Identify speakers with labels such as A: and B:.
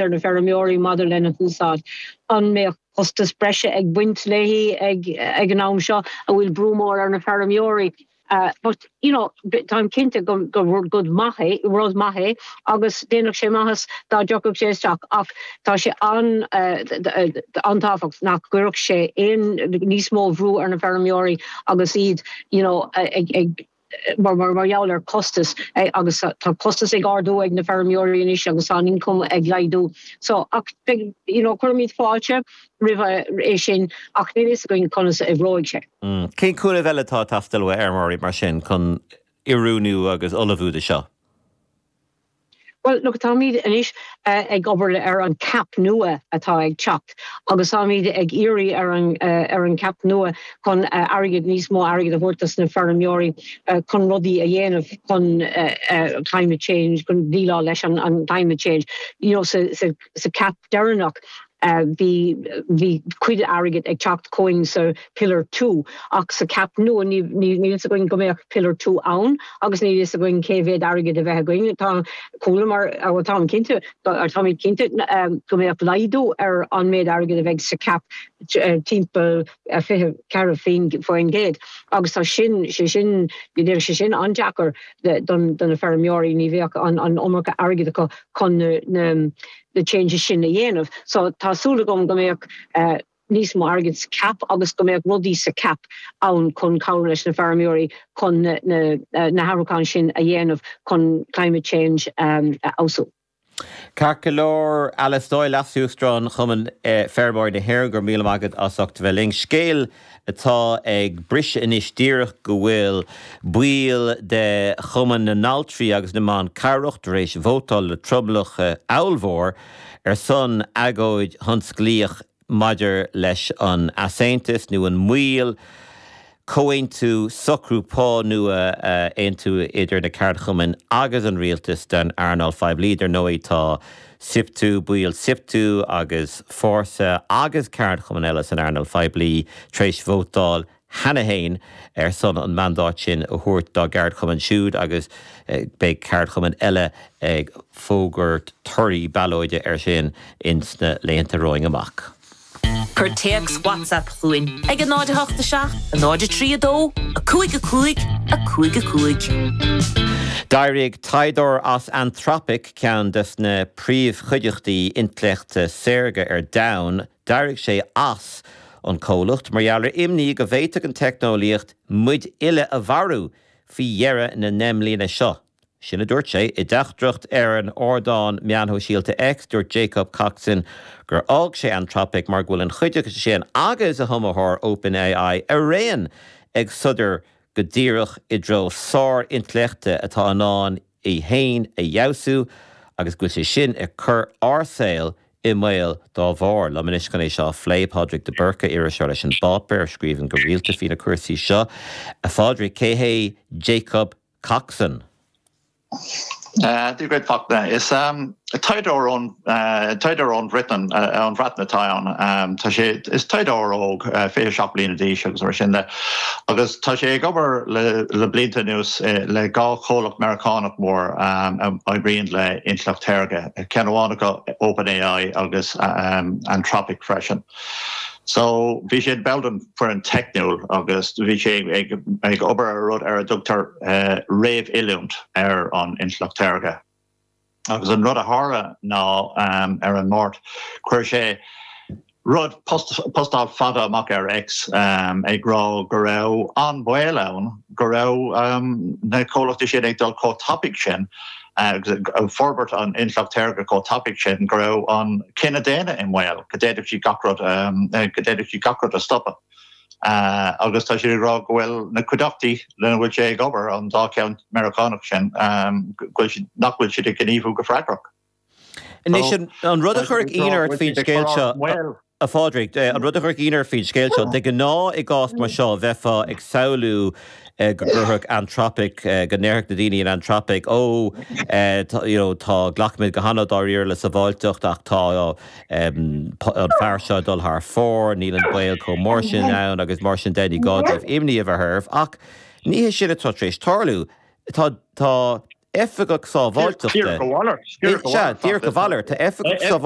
A: ar na feirmeoirí maidir lena húsáid. An mbeadh costas breise ag baint léi ag ag an am seo a bhfuil brú mór ar na feirmeoirí? But, you know, táim cinnte go gur rud maith é, rud maith é agus déanfadh sé maitheas dá dtiocfadh sé isteach ach tá sé an an-tábhachtach nach gcuirfeadh sé aon níos mó bhrú ar na feirmeoirí agus iad, you know, ag ag mar mar mar gheall ar costas agus tá costas ag ardú ag na feirmeoirí anois agus tá an income ag laghdú. So ach beidh, you know, cuirfimid fáilte roimh é sin ach níl fhios againn conas a oibreoidh sé.
B: Cén cúnamh eile atá ag teastáil ó fheirmeoirí mar sin chun oiriúnú agus ullmhú do seo?
A: Bhuel, look, táimid anois ag obair ar an CAP nua atá ag teacht agus táimid ag iarraidh ar an ar an CAP nua chun airgead, níos mó airgid a thabhairt dos na feirmeoirí chun rudaí a dhéanamh chun climate change, chun déileáil leis an climate change. You know, sa sa sa CAP deireanach bhí bhí cuid airgid ag teacht chugainn sa Pillar 2 ach sa CAP nua ní níl fhios againn go mbeadh Pillar 2 ann agus níl fhios againn cé mhéad airgid a bheith againn. Tá chualamar bhuel táim cinnte táimid cinnte go mbeadh laghdú ar an méid airgid a bheidh sa CAP timpeall 24% agus tá sin sé sin déanfaidh sé sin an-deacair don do na feirmeoirí ní bheadh an an iomarca airgid acu chun na na na changes sin a dhéanamh. So tá súil agam go mbeadh níos mó airgid sa CAP agus go mbeadh rudaí sa CAP ann chun cabhrú leis na feirmeoirí chun na na na hathrúcháin sin a dhéanamh chun climate change a fheabhsú.
B: Ceart go leor, Alice Doyle, Leas-Uachtarán Chumann Feirmeoirí na hÉireann, go raibh míle maith agat as ucht a bheith linn. Scéal atá ag briseadh anois díreach go bhfuil baill de Chumann na nAltraí agus na mBan Cabhrach tar éis vótáil le tromlach ollmhór ar son agóid thionsclaíoch maidir leis an easaontas nó an moill comhaontú socrú pá nua a aontú idir na ceardchumainn agus an rialtas don earnáil phoiblí. Dar ndóigh tá Siptu, baill Siptu agus Fórsa agus ceardchumainn eile san earnáil phoiblí tar éis vótáil cheana féin ar son an mandáid sin a thabhairt dá gceardchumainn siúd agus beidh ceardchumainn eile ag fógairt torthaí ballóide air sin ins na laethanta romhainn amach.
C: Cuir téacs WhatsApp chugainn ag 0 8 7 0 3 2 5 5 5 5.
B: D'éirigh taighdeoir as Anthropic, ceann des na príomhchuideachtaí intleachta saorga ar domhan, d'éirigh sé as an comhlacht mar gheall ar imní go bhféadfadh an teicneolaíocht muid uile a mharú faoi dheireadh na ndeich mbliana seo. Sin a dúirt sé. I dteachtaireacht ar an ardán meán shóisialta X, dúirt Jacob Coxon gur fhág sé Anthropic mar go bhfuil an chuideachta sin agus a hiomaitheoir OpenAI araon ag sodar go díreach i dtreo sár-intleachta atá in ann í féin a fheabhsú agus go bhfuil sé sin ag cur ár saol i mbaol dá bharr. Liom anois chun é seo a phlé, Pádraig de Búrca, iriseoir leis An bPáipéar, a scríobhann go rialta faoi na cúrsaí seo. A Phádraig, cé hé Jacob Coxon?
D: Dia dhuit, Fachtna. Is taighdeoir ón taighdeoir ón Bhreatain ón Bhreatain atá ann. Tá sé is taighdeoir óg, 27 bliana d'aois agus mar sin de. Agus tá sé ag obair le le blianta anuas le dhá chomhlacht Meiriceánach mór a oibríonn le intleacht shaorga, ceann amháin acu OpenAI agus Anthropic freisin. So, bhí sé ball den foireann teicniúil agus bhí sé ag ag obair ar rud ar a dtugtar réamhoiliúint ar an intleacht shaorga. Agus an rud a tharla ná ar an Máirt, chuir sé rud, postáil fada amach ar X ag rá go raibh an-bhaol ann go raibh na comhlachtaí sin ag dul chomh tapaidh sin agus ag forbairt an intleacht shaorga chomh tapaidh sin go raibh an cine daonna i mbaol, go d'fhéadfadh siad gach rud, go d'fhéadfadh siad gach rud a stopadh. Agus tá siad ag rá go bhfuil na cuideachtaí lena bhfuil sé ag obair, an dá cheann Meiriceánach sin, go bhfuil siad, nach bhfuil siad ag gníomhú go freagrach.
B: Anois, an rud a chuirfeadh ionadh ort faoin scéal seo, a Phádraig, an rud a chuirfeadh ionadh ort faoin scéal seo, de ghnáth i gcás mar seo bheifeá ag samhlú go gcuirfeadh Anthropic, go ndéarfadh na daoine in Anthropic, ó, you know, tá, glacaimid go han-dáiríre le sábháilteacht ach tá an fear seo ag dul thar fóir, níl an baol chomh mór sin ann agus mar sin de, ní gá daoibh imní a bheith oraibh. Ach ní hé sin atá tar éis tarlú. Tá, tá. oifigeach sábháilteachta.
D: Díreach a mhalairt.
B: Sea, díreach a mhalairt. Tá oifigeach sábháilteachta.